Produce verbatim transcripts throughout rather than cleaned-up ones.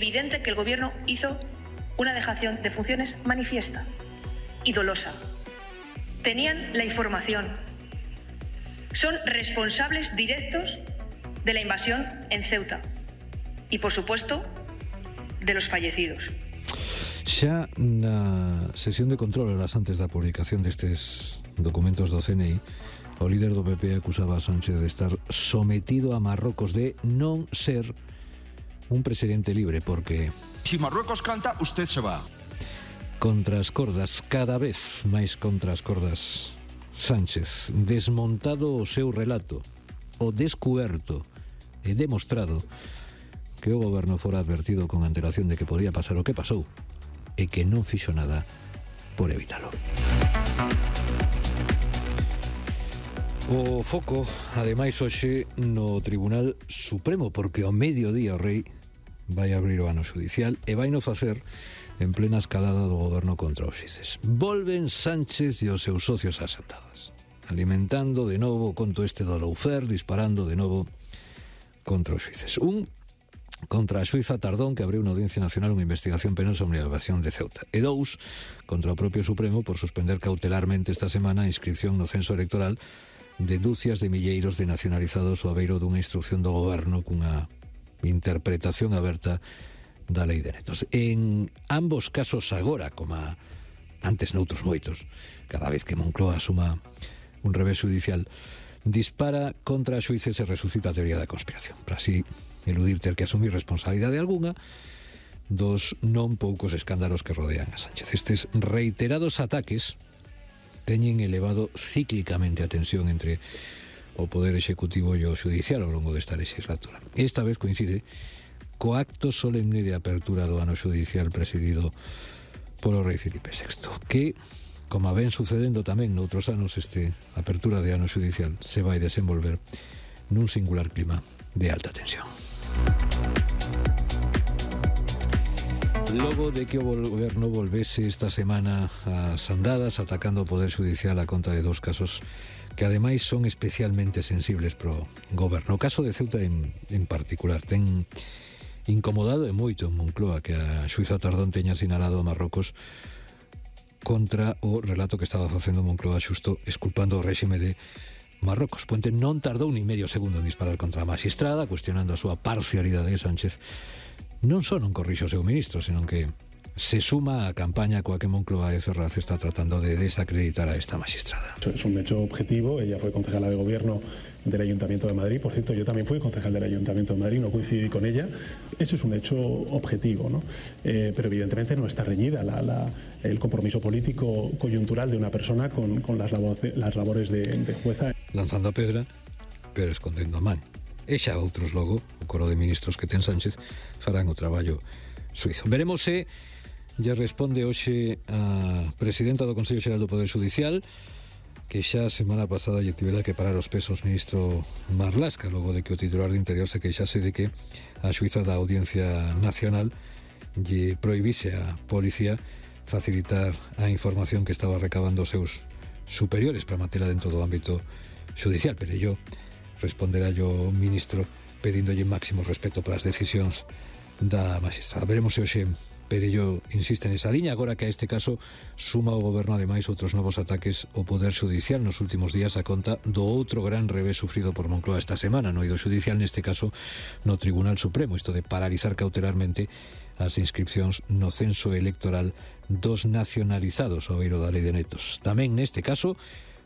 evidente que el Gobierno hizo una dejación de funciones manifiesta y dolosa. Tenían la información. Son responsables directos de la invasión en Ceuta y, por supuesto, de los fallecidos. Xa na sesión de control horas antes da publicación destes documentos do C N I, o líder do P P acusaba a Sánchez de estar sometido a Marrocos, de non ser un presidente libre, porque si Marruecos canta, usted se va. Contra as cordas, cada vez máis contra as cordas, Sánchez, desmontado o seu relato, o descuberto e demostrado que o goberno fora advertido con antelación de que podía pasar o que pasou e que non fixo nada por evitalo. O foco, ademais, hoxe no Tribunal Supremo, porque ao mediodía o rei vai abrir o ano xudicial e vai no facer en plena escalada do goberno contra os xuíces. Volven Sánchez e os seus socios ás andadas, alimentando de novo o conto este do lawfare, disparando de novo contra os xuíces. Un, contra a xuíza Tardón, que abriu na Audiencia Nacional unha investigación penal sobre a invasión de Ceuta. E dous, contra o propio Supremo por suspender cautelarmente esta semana a inscripción no censo electoral de dúcias de milleiros de nacionalizados ao abeiro dunha instrucción do goberno cunha interpretación aberta da lei de netos. En ambos casos agora, como antes noutros moitos, cada vez que Moncloa asuma un revés judicial, dispara contra a xuíces e resucita a teoría da conspiración, para así eludir ter que asumir responsabilidade algunha dos non poucos escándalos que rodean a Sánchez. Estes reiterados ataques teñen elevado cíclicamente a tensión entre o Poder Executivo e o Judicial ao longo desta legislatura. Esta vez coincide co acto solemne de apertura do ano judicial presidido polo rei Filipe sexto, que, como ven sucedendo tamén noutros anos, este apertura de ano judicial se vai desenvolver nun singular clima de alta tensión. Logo de que o goberno volvese esta semana ás andadas atacando o Poder Judicial a conta de dous casos que ademais son especialmente sensibles pro goberno. O caso de Ceuta en, en particular ten incomodado e moito en Moncloa que a xuíza Tardón teña sinalado a Marrocos contra o relato que estaba facendo Moncloa xusto esculpando o réxime de Marrocos. Puente non tardou ni medio segundo en disparar contra a magistrada, cuestionando a súa parcialidade de Sánchez. Non só non corrixe o seu ministro, senón que se suma a campaña coa que Moncloa e Ferraz está tratando de desacreditar a esta magistrada. Es un hecho objetivo. Ella fue concejala de gobierno del Ayuntamiento de Madrid. Por cierto, yo también fui concejal del Ayuntamiento de Madrid, no coincidí con ella. Eso es un hecho objetivo, ¿no? Eh, pero evidentemente no está reñida la, la, el compromiso político coyuntural de una persona con, con las, labor, las labores de, de jueza. Lanzando a pedra, pero escondendo a man. E xa outros logo, o coro de ministros que ten Sánchez, farán o traballo suizo. Veremos se lle responde hoxe a presidenta do Consello Xeral do Poder Judicial, que xa a semana pasada lle tivera que parar os pesos ministro Marlaska, logo de que o titular de Interior se queixase de que a xuíza da Audiencia Nacional lle prohibise a policía facilitar a información que estaba recabando os seus superiores para matela dentro do ámbito judicial. Pero yo responderá yo o ministro pedíndolle máximo respeto para as decisións da magistrada. Veremos se hoxe Perello insiste nesa liña, agora que a este caso suma o goberno ademais outros novos ataques ao Poder Judicial nos últimos días a conta do outro gran revés sufrido por Moncloa esta semana no eido judicial, neste caso no Tribunal Supremo, isto de paralizar cautelarmente as inscripcións no censo electoral dos nacionalizados ao abeiro da lei de netos. Tamén neste caso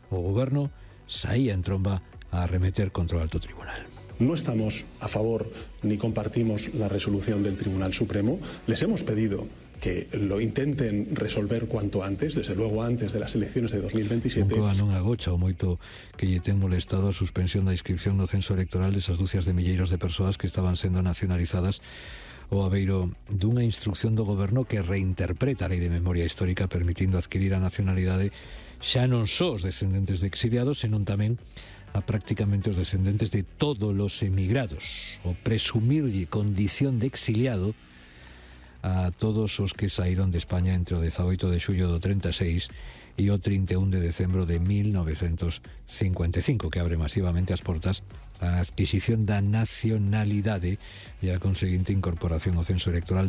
o goberno saía en tromba a arremeter contra o alto tribunal. No estamos a favor ni compartimos la resolución del Tribunal Supremo. Les hemos pedido que lo intenten resolver cuanto antes, desde luego antes de las elecciones de dos mil veintisiete. Moncloa non agocha o moito que lle ten molestado a suspensión da inscripción no censo electoral desas dúcias de milleiros de persoas que estaban sendo nacionalizadas o abeiro dunha instrucción do goberno que reinterpreta a lei de memoria histórica permitindo adquirir a nacionalidade xa non só os descendentes de exiliados, senón tamén a prácticamente os descendentes de todos os emigrados, o presumirlle condición de exiliado a todos os que saíron de España entre o dezaoito de xullo do trinta e seis e o trinta e un de decembro de mil novecentos cincuenta e cinco, que abre masivamente as portas a adquisición da nacionalidade e a conseguinte incorporación ao censo electoral